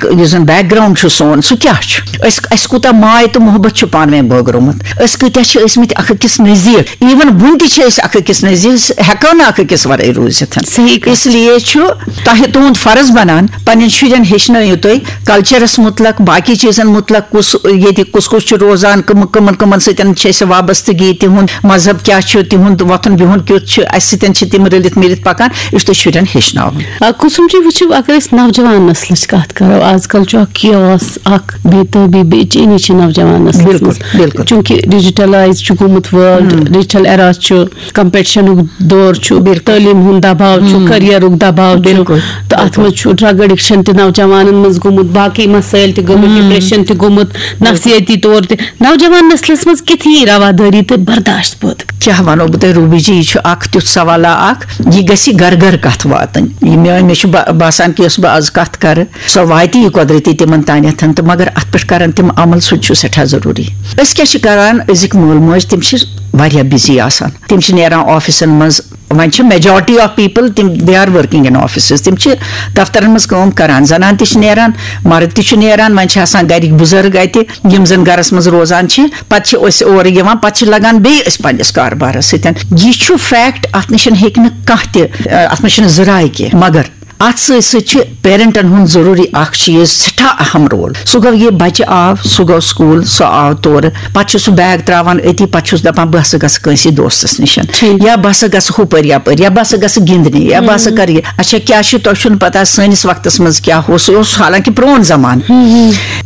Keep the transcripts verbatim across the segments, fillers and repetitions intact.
یُس زَن back ground چھُ سون، سُہ کیٛاہ چھُ؟ أسۍ، اَسہِ کوٗتاہ ماے تہٕ محبت چھُ پانہٕ ؤنۍ بٲگرومُت؟ أسۍ کۭتیٛاہ چھِ ٲسۍ مٕتۍ اَکھ أکِس نزدیٖک؟ ایون وٕنہِ تہِ چھِ أسۍ اَکھ أکِس نزدیٖک، أسۍ ہٮ۪کو نہٕ اَکھ أکِس وَرٲے روٗزِتھ۔ صحیح کَتھ۔ اس لیے چھُ تۄہہِ، تُہُنٛد فرض بَنان، پنٛنٮ۪ن شُرٮ۪ن ہیٚچھنٲیِو تُہۍ کلچرس مُتلق، باقٕے چیٖزن مُتلق، کُس ییٚتہِ کُس کُس چھُ روزان، کٕم، کٕمن کٕمن سۭتۍ چھِ اَسہِ وابستگی، تِہُنٛد مذہب کیٛاہ چھُ، تِہُنٛد وۄتھُن بِہُن کیُتھ چھُ، اَسہِ سۭتۍ چھِ تِم رٔلِتھ مِلِتھ پَکان، یہِ چھُ تۄہہِ شُرٮ۪ن ہیٚچھناوُن۔ آ، کُسُم چھُ وٕچھِو، اگر أسۍ نوجوان نسلٕچ کتھ کرو، آز کل چھُ اکھ کیوس، اکھ بے تٲبی، بے چینی چھِ نوجوان نسلس بِلکُل، منٛز۔ بِلکُل۔ چونکہ ڈیجیٹلائز چھُ گوٚمُت ورلڈ، ڈیجیٹل ایرا چھُ، کمپٹیشنُک دور چھُ، بِلکُل۔ تعلیٖم ہُنٛد دباو چھُ، کیریرُک دباو چھُ، بِلکُل، تہٕ اتھ منٛز چھُ ڈرگ ایڈکشن تہِ نوجوانن منٛز گوٚمُت، باقٕے مسٲیل تہِ گٔمٕتۍ، ڈپریشن تہِ گوٚمُت، نفسیٲتی طور تہِ۔ نوجوان نسلس منٛز کِتھ یی روادٲری تہٕ برداشت پٲدٕ؟ کیٛاہ وَنو بہٕ تۄہہِ، روبی جی، یہِ چھُ اکھ تیُتھ سوالہ اکھ، یہِ گژھِ گرٕ گرٕ کتھ واتٕنۍ۔ یہِ میٲنۍ، مےٚ چھُ با-، باسان کہِ یۄس بہٕ آز کتھ کرٕ، سۄ واتہِ یہِ قۄدرتی تِمن تانٮ۪تھ، تہٕ مگر اتھ پٮ۪ٹھ کرن تِم عمل، سُہ تہِ چھُ سٮ۪ٹھاہ ضروٗری۔ أسۍ کیٛاہ چھِ کران؟ أزِکۍ مول موج، تِم چھِ واریاہ بِزی آسان، تِم چھِ نیران آفسن منٛز۔ وۄنۍ چھِ majority of people، تِم، they are working in offices، تِم چھِ دفترن منٛز کٲم کران، زنان تہِ چھِ نیران، مرد تہِ چھُ نیران، وۄنۍ چھِ آسان گرِکۍ بُزرگ اتہِ، یِم زن گرس منٛز روزان چھِ، پتہٕ چھِ أسۍ اورٕ یِوان، پتہٕ چھِ لگان بیٚیہِ أسۍ پننِس کاربارس سۭتۍ۔ یہِ چھُ فیکٹ، اتھ نِش ہیٚکہِ نہٕ کانٛہہ تہِ، اتھ منٛز چھِنہٕ زٕ راے کینٛہہ۔ مگر اتھ سۭتۍ سۭتۍ چھُ پیرنٹن ہُنٛد ضروٗری اکھ چیٖز، سٮ۪ٹھاہ اہم رول۔ سُہ گوٚو، یہِ بچہِ آو، سُہ گوٚو سکوٗل، سُہ آو تورٕ، پتہٕ چھُ سُہ بیگ تراوان أتی، پتہٕ چھُس دپان، بہٕ ہسا گژھٕ کٲنٛسہِ دوستس نِش، یا بہٕ ہسا گژھٕ ہُپٲرۍ یپٲرۍ، یا بہٕ ہسا گژھٕ گِنٛدنہِ، یا بہٕ ہسا کرٕ یہِ۔ اچھا، کیٛاہ چھُ، تۄہہِ چھُنہٕ پتہ سٲنِس وقتس منٛز کیٛاہ اوس؟ سُہ اوس حالانکہِ پرون زمانہٕ۔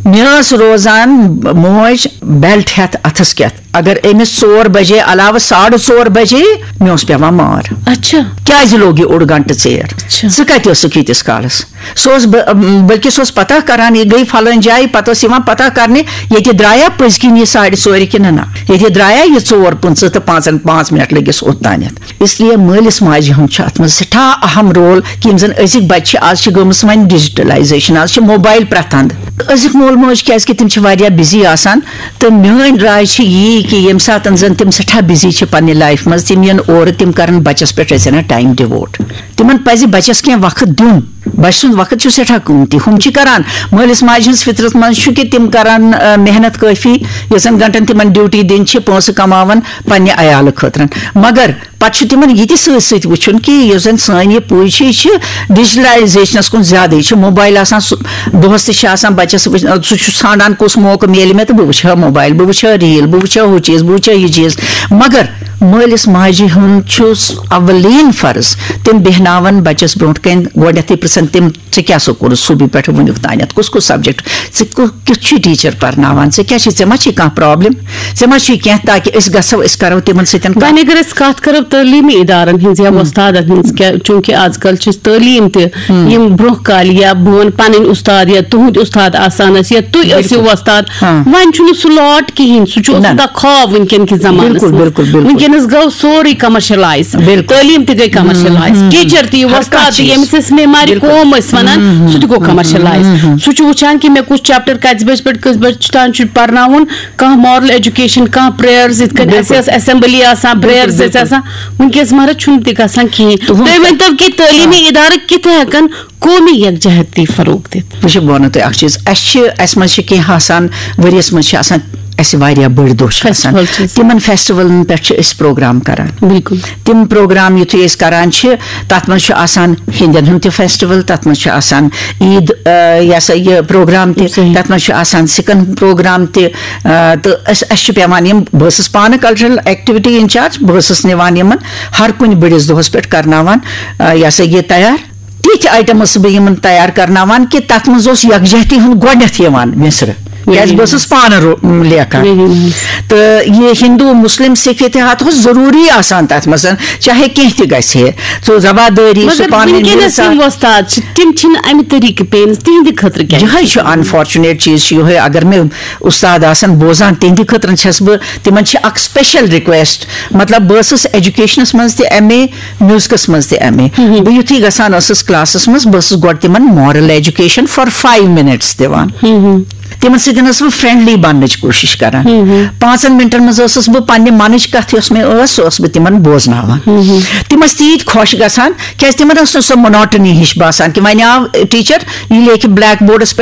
مےٚ ٲس روزان موج بیلٹ ہٮ۪تھ اتھس کٮ۪تھ، اگر أمِس ژور بجے علاوٕ ساڑٕ ژور بجے، مےٚ اوس پٮ۪وان مار۔ اچھا۔ کیٛازِ لوٚگ یہِ اوٚڑ گھنٹہٕ ژیر؟ اچھا۔ ژٕ کتہِ ٲسٕکھ ییٖتِس کالس؟ سُہ اوس بہٕ، بلکہِ سُہ اوس پتہ کران، یہِ گٔے فلٲنۍ جایہِ، پتہٕ اوس یِوان پتہ کرنہِ، ییٚتہِ درٛایا پٔزۍ کِنۍ یہِ ساڑِ ژورِ کِنہٕ نہ، ییٚتہِ درٛایا یہِ ژور پٕنٛژٕہ تہٕ پانٛژن، پانٛژھ منٹ لٔگِس اوٚتانٮ۪تھ۔ اس لیے مٲلِس ماجہِ ہُنٛد چھُ اتھ منٛز سٮ۪ٹھاہ اہم رول، کہِ یِم زن أزِکۍ بچہِ چھِ، آز چھِ گٔمٕژ وۄنۍ ڈیجیٹلایزیشن، آز چھِ موبایل پرٛٮ۪تھ اندٕ۔ أزِکۍ مول موج، کیازِ کہِ تِم چھِ واریاہ بِزی آسان، تہٕ میٲنۍ راے چھِ یی کہِ ییٚمہِ ساتن زن تِم سٮ۪ٹھاہ بِزی چھِ پننہِ لایفہِ منٛز، تِم یِن اورٕ، تِم کرن بچس پٮ۪ٹھ أسۍ ٹایم ڈِووٹ۔ تِمن پزِ بچس کینٛہہ وقت دیُن۔ بچہٕ سُنٛد وقت چھُ سٮ۪ٹھاہ قۭمتی۔ ہُم چھِ کران، مٲلِس ماجہِ ہٕنٛز فطرت منٛز چھُ کہِ تِم کرن، آ، محنت کٲفی، یٔژن گھنٹن تِمن ڈیوٹی دِنۍ چھِ، پونٛسہٕ کماون پننہِ عیالہٕ خٲطرٕ۔ مگر پتہٕ چھُ تِمن یہِ تہِ سۭتۍ سۭتۍ وٕچھُن کہِ یُس زن سٲنۍ یہِ پُے چھِ، یہِ چھِ ڈیجیٹلایزیشنس کُن زیادٕ، یہِ چھِ موبایل آسان، سُہ دۄہس تہِ چھِ آسان بچس وٕچھ-، سُہ چھُ ژھانڈان کُس موقعہٕ میلہِ مےٚ تہٕ بہٕ وٕچھِ ہا موبایل، بہٕ وٕچھِ ہا ریٖل، بہٕ وٕچھِ ہا ہُہ چیٖز، بہٕ وٕچھِ ہا یہِ چیٖز۔ مگر مٲلِس ماجہِ ہُنٛد چھُ اولین فرض، تِم بیہناون بچس برونٛٹھ کنہِ، گۄڈنیتھٕے پرژھن تِم، ژےٚ کیٛاہ سکوٗلس صُبحہِ پٮ۪ٹھ وُنیُک تانٮ۪تھ؟ کُس کُس سبجیکٹ؟ ژےٚ کُ-، کیُتھ چھُے ٹیٖچر پرناوان؟ ژےٚ کیٛاہ چھُے، ژےٚ ما چھُے کانٛہہ پرابلم؟ ژےٚ ما چھُے کینٛہہ، تاکہِ أسۍ گژھو، أسۍ کرو تِمن سۭتۍ کتھ۔ وۄنۍ اگر أسۍ کتھ کرو تعلیمی ادارن ہٕنٛز یا وۄستادن ہٕنٛز، کیٛاہ، چونکہ آز کل چھِ تعلیٖم تہِ، یِم برونٛہہ کالہِ یا بہٕ وَنہٕ پنٕنۍ اُستاد یا تُہنٛدۍ اُستاد آسان ٲسۍ یا تُہۍ ٲسِو وۄستاد، ہاں۔ وۄنۍ چھُنہٕ سُہ لاٹ کِہیٖنۍ، سُہ چھُ نہ۔ اوسمُت اکھ خواب وٕنکیٚن کِس زمانس بِلکُل، منٛز۔ بِلکُل، بِلکُل۔ وٕنکیٚنس گوٚو سورُے کمرشلایز۔ بِلکُل۔ تعلیٖم تہِ گٔے کمرشلایز، ٹیٖچر تہِ، وۄستاد تہِ، ییٚمِس أسۍ معمارِ قوم ٲسۍ ونان، سُہ تہِ گوٚو کمرشلایز۔ سُہ چھُ وٕچھان کہِ مےٚ کُس چیپٹر کتہِ بجہِ پٮ۪ٹھ کٔژِ بجہِ تام چھُ پرناوُن، کانٛہہ مارل ایجوکیشن، کانٛہہ پریئرز، یِتھ کٔنۍ اَسہِ ٲس اسمبلی آسان، پریئرز ٲسۍ آسان، وٕنکیٚس مہراز چھُنہٕ تہِ گژھان کِہیٖنۍ۔ تُہُنٛد تُہۍ ؤنۍتو کہِ تعلیٖمی ادارٕ کِتھ ہٮ۪کن قومی یکجہتی فروغ دِتھ؟ وٕچھِو، بہٕ وَنو تۄہہِ اَکھ چیٖز، اَسہِ چھِ، اَسہِ منٛز چھِ کینٛہہ آسان، ؤریَس منٛز چھِ آسان اَسہِ واریاہ بٔڑۍ دۄہ چھِ آسان۔ فیسٹیول چھِ آسان۔ تِمَن فیسٹیولَن پٮ۪ٹھ چھِ أسۍ پروگرام کَران۔ بِلکُل۔ تِم پروگرام یُتھُے أسۍ کَران چھِ، تَتھ منٛز چھُ آسان ہیٚنٛدٮ۪ن ہُنٛد تہِ فیسٹیول، تَتھ منٛز چھُ آسان عیٖد، آ، یہِ ہسا یہِ پروگرام تہِ، صحیح۔ تَتھ منٛز چھُ آسان سِکَن ہُنٛد پروگرام تہِ، آ، تہٕ أسۍ، اَسہِ چھُ پٮ۪وان یِم، بہٕ ٲسٕس پانہٕ کلچرل ایکٹیویٹی انچارج، بہٕ ٲسٕس نِوان یِمَن ہر کُنہِ بٔڑِس دۄہَس پٮ۪ٹھ کَرناوان، آ، یہِ ہسا یہِ تیار۔ تِتھۍ آیٹم ٲسٕس بہٕ یِمن تیار کرناوان کہِ تَتھ منٛز اوس یکجہتی ہُنٛد گۄڈٕنیتھ یِوان مِصرٕ، کیازِ بہٕ ٲسٕس پانہٕ رو-، لیکھان۔ تہٕ یہِ ہندو، مسلم، سکھ اتحاد اوس ضروٗری آسان تَتھ منٛز، چاہے کینٛہہ تہِ گژھِ ہے، سُہ روادٲری، سُہ مگر پانہٕ ؤنۍ وٕنکیٚنَس مِلژار۔ یِم وۄستاد چھِ، تِم چھِنہٕ اَمہِ طریٖقہٕ پیٚیہِ نہٕ، تِہنٛدِ خٲطرٕ کیٛاہ؟ یِہوٚے چھُ انفارچُنیٹ چیٖز چھُ یِہوٚے، اگر مےٚ اُستاد آسن بوزان، تِہنٛدِ خٲطرٕ چھَس بہٕ، تِمن چھِ اکھ سپیشل ریکویسٹ، مطلب، بہٕ ٲسٕس ایجوکیشنس منٛز تہِ ایم اے، میوزکس منٛز تہِ ایم اے۔ بہٕ یُتھُے گژھان ٲسٕس کلاسس منٛز، بہٕ ٲسٕس گۄڈٕ تِمن moral education for five minutes دِوان۔ تِمن سۭتۍ ٲسٕس بہٕ فرینڈلی بننٕچ کوٗشش کران۔ پانٛژن منٹن منٛز ٲسٕس بہٕ پننہِ منٕچ کتھ یۄس مےٚ ٲس، سۄ ٲسٕس بہٕ تِمن بوزناوان۔ تِم ٲسۍ تیٖتۍ خۄش گژھان، کیازِ تِمن ٲس نہٕ سۄ مونوٹنی ہِش باسان کہِ وۄنۍ آو ٹیچر، یہِ لیکھِ بلیک بورڈس پٮ۪ٹھ۔